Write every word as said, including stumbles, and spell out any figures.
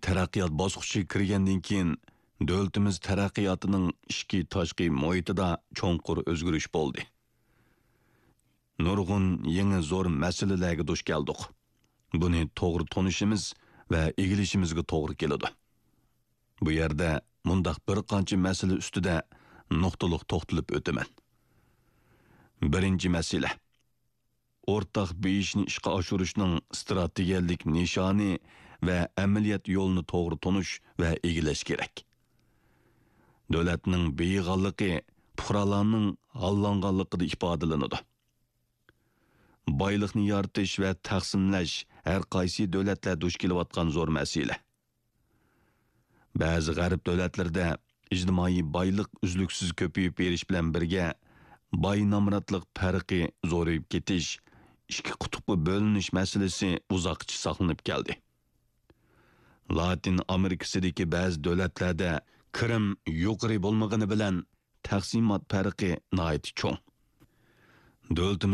تەرەققىيات باسقۇچىغا كىرگەندىن كېيىن، دۆلىتىمىز تەرەققىياتىنىڭ ئىچكى تاشقى مۇھىتىدا چوڭقۇر ئۆزگىرىش بولدى. نۇرغۇن يېڭى زور مەسىلىلەرگە دۇچ كەلدۇق. بۇنى توغرا تونۇشىمىز ۋە ئىگىلىشىمىزگە توغرا كېلىدۇ. بۇ يەردە مۇنداق بىر قانچە مەسىلە ئۈستىدە نۇقتىلىق توختىلىپ ئۆتىمەن. بىرىنچى مەسىلە، ئورتاق بېيىشنى ئىشقا ئاشۇرۇشنىڭ ئىستراتېگىيەلىك نىشانى ۋە ئەمەلىيەت يولىنى توغرا تونۇش ۋە ئىگىلەش كېرەك. دۆلەتنىڭ بېيىغانلىقى پۇقرالارنىڭ ھاللانغانلىقىدا ئىپادىلىنىدۇ. بايلىقنى يارىتىش ۋە تەقسىملەش ھەر قايسى دۆلەتلەر دۇچ كېلىۋاتقان زور مەسىلە. بەزى غەرب دۆلەتلىرىدە ئىجتىمائىي بايلىق ئۈزلۈكسىز كۆپىيىپ بېرىش بىلەن بىرگە، باي نامراتلىق پەرقى زورىيىپ كېتىش، ئىككى قۇتۇپقا بۆلۈنۈش مەسىلىسى ئۇزاققىچە ساقلىنىپ كەلدى. لاتىن ئامېرىكىسىدىكى بەزى دۆلەتلەردە كىرىم يۇقىرى بولمىغىنى بىلەن، تەقسىمات پەرقى ناھايىتى چوڭ. دۆلىتىمىز